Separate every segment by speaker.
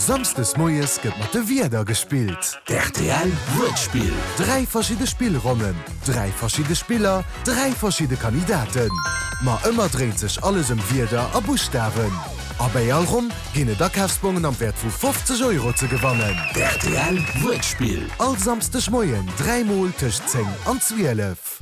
Speaker 1: Samsdes moies gëtt mat de Wierder gespillt.
Speaker 2: D'RTL Wuertspill.
Speaker 1: 3 verschidde Spillronnen, 3 verschidde Spiller, 3 verschidde Kandidaten. Ma ëmmer dréint sech alles ëm Wierder a Buschtawen. A bäi all Ronn ginn et Akafsbongen am Wäert vu 50 Euro ze gewannen.
Speaker 2: D'RTL Wuertspill.
Speaker 1: All Samsdeg Moien 3 mol tëscht 10 an 12.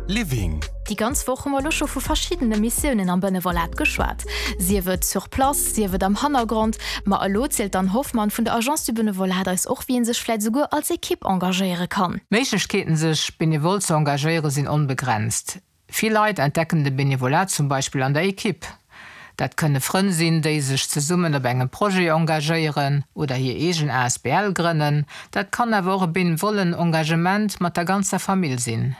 Speaker 2: Living.
Speaker 3: Déi ganz Woch hu mer elo scho vu verschiddene Missiounen am Benevolat geschwat, sief et sur place, sief et am Hannergrond. Ma elo zielt d'Anne Hoffmann vun der Agence du Benevolat eis och, wéi ee sech vläit esouguer als Ekipp engagéiere kann.
Speaker 4: D'Méiglechkeeten sech benevol ze engagéiere sinn onbegrenzt. Vill Leit entdecken de Benevolat zum Beispill an der Ekipp. Dat kënne Frënn sinn, déi sech zesummen op engem Projet engagéieren oder hir eegen asbl grënnen. Dat kann awer och e benevollen Engagement mat der ganzer Famill sinn.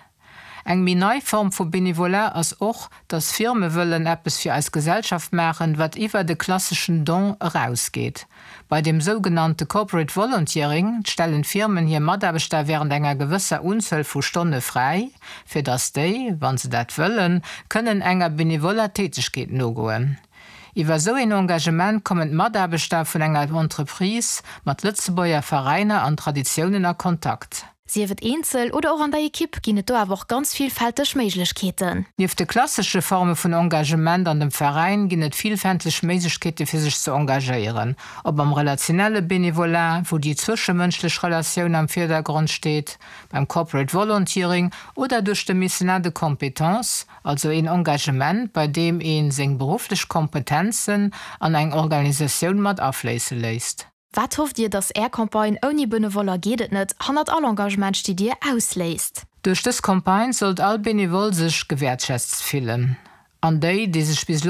Speaker 4: Eng méi nei Form vu Benevolat ass och, dass Firme wëllen eppes fir eis Gesellschaft maachen, wat iwwer de klasseschen Don erausgeet. Bei dem sougenannte Corporate Volunteering stellen d'Firmen hir Mataarbechter wärend enger gewësser Unzuel vu Stonne fräi, fir datt déi, wa se dat wëllen, kënnen enger benevoller Tätegkeet nogoen. Iwwer esou een Engagement kommen d'Mataarbechter vun enger Entreprise mat Lëtzebuerger Veräiner an Traditiounen a Kontakt.
Speaker 3: Sief et eenzel oder och an der Ekipp ginn et do awer och ganz villfälteg Méiglechkeeten.
Speaker 4: Nieft de klassesche Forme vun Engagement an dem Veräin ginn et villfälteg Méiglechkeete fir sech ze engagéieren, ob am relationelle Benevolat, wou déi zwëschemënschlech Relatioun am Virdergrond steet, beim Corporate Volunteering oder duerch de Mécénat de compétences, also een Engagement, bei deem ee seng berufflech Kompetenzen an eng Organisatioun mat afléisse léisst.
Speaker 3: Wat hofft Dir, dass Är Campagne Ouni Benevoller geet et net, hannert all Engagement stitt Dir ausléist?
Speaker 4: Duerch dës Campagne sollt all Benevole sech gewäertschätzt fillen an déi, déi sech bis elo.